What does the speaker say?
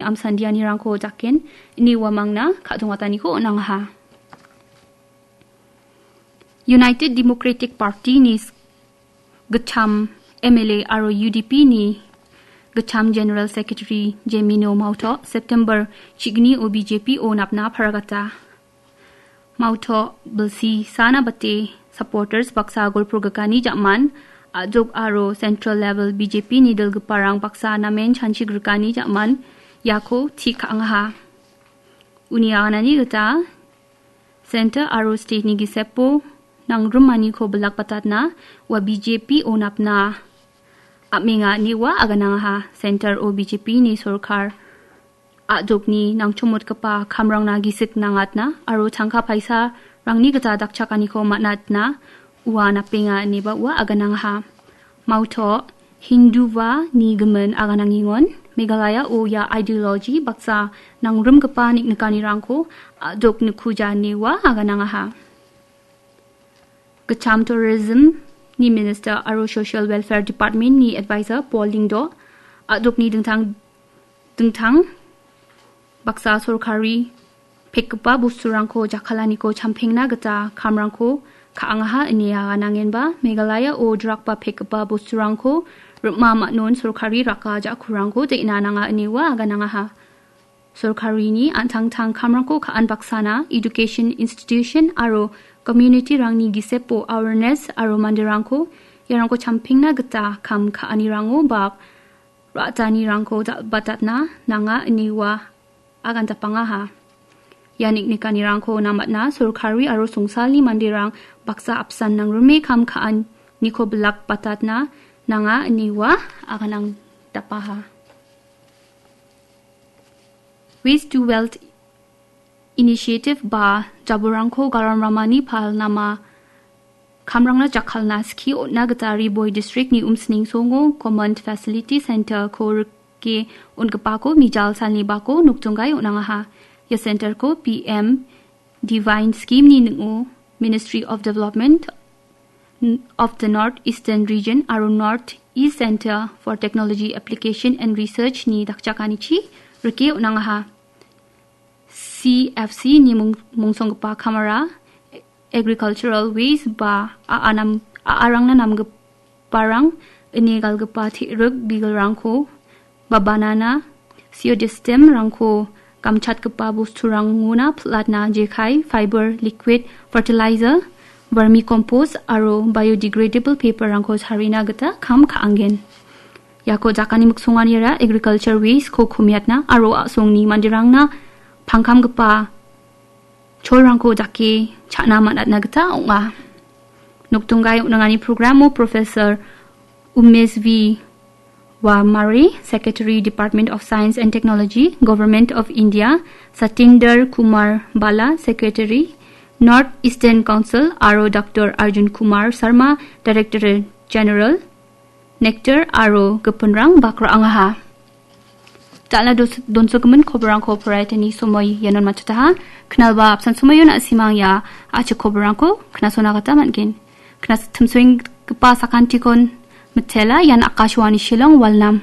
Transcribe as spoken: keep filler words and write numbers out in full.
amsandianirangko daken, ine uamangna ka·dongataniko on·angaha. United Democratic Party-ni s-, gitcham M L A aro U D P-ni gitcham General Secretary Jemino Mauto September chigni o B J P-o napna paragata. Mauto bilsi sana bate supporters baksa golpurgikani ja·man, a·jok aro central level B J P-ni dilgiparang baksa namen chanchigrikani ja·man iako ti ka·angaha. Uni aganani gita center aro state-ni gisepo nangrimaniko bilakbatatna ua B J P-o napna am·enga ine ua aganangaha. Center-o B J P-ni sorkar a·jokni nangchomotgipa kamrangna gisik nangatna aro tangka paisarangni gita dakchakaniko man·atna ua napenga ineba ua aganangaha. Mauto Hinduva ni gimin aganangengon Meghalaya-o ia ideology baksa nangrimgipa niknikanirangko a·jok nikuja ine ua aganangaha. Gitcham Tourism-ni Minister aro Social Welfare Department-ni Advisor Paul Lyngdoh, a·dokni dingtang, dingtang baksa sorkari pekgipa bosturangko jakkalaniko champengna gita kamrangko ka·angaha ine aganangenba, Meghalaya-o drakba pekgipa bosturangko rim·a man·on sorkari raka ja·kurangko de·na nanga ine ua aganangaha. Sorkarini an·tangtang kamrangko ka·an baksana education institution aro community-rangni gisepo awareness aro manderangko iarangko champengna gita kam ka·anirango bak ra·tanirangko dal·batatna nanga ine ua agandapangaha. Ia niknikanirangko namatna sorkari aro songsalni manderang baksa apsan nangrime kam ka·aniko bilakbatatna nanga ine ua aganangdapaha. Waste to Wealth Initiative ba jabolrangko garam ramani palnama kamrangna jakkalna skie on·na gita Ri Bhoi District-ni Umsning Songo Common Facility Center-ko rike on·gipako mijal salni bako nokdonggai on·angaha. Ia center-ko P M Divine Scheme-ni ning·o Ministry of Development of the North Eastern Region aro North East Center for Technology Application and Research-ni dakchakanichi rike on·angaha. C F C-ni mung-, mungsonggipa kamara agricultural waste ba a·a nam-, a·arangna namgiparang ine galgipa te·rik bigilrangko ba banana, siodestem-rangko gamchatgipa bosturangona pil·atna jekai, fiber, liquid fertilizer, vermicompost aro biodegradable paper-rangko charina gita kam ka·angen. Iako jakani miksonganira agriculture waste-ko komiatna aro a·songni manderangna pangkamgipa cholrangko dake cha·na man·atna gita ong·a. Nokdonggai on·angani programo Professor Umesh V Wamare, Secretary, Department of Science and Technology, Government of India, Satinder Kumar Bala, Secretary, North Eastern Council, aro Doctor Arjun Kumar Sharma, Director General, Nectar aro gipinrang bak ra·angaha. Dal·a dos-, donsogimin koborrangko poraiatani somoi ianon matchotaha. Knalba apsan somoion na·simang ia a·chik koborrangko knasona gita man·gen. Knas-, timsoenggipa sakantikon mitela, ian Akashvani Shillong, Walnam.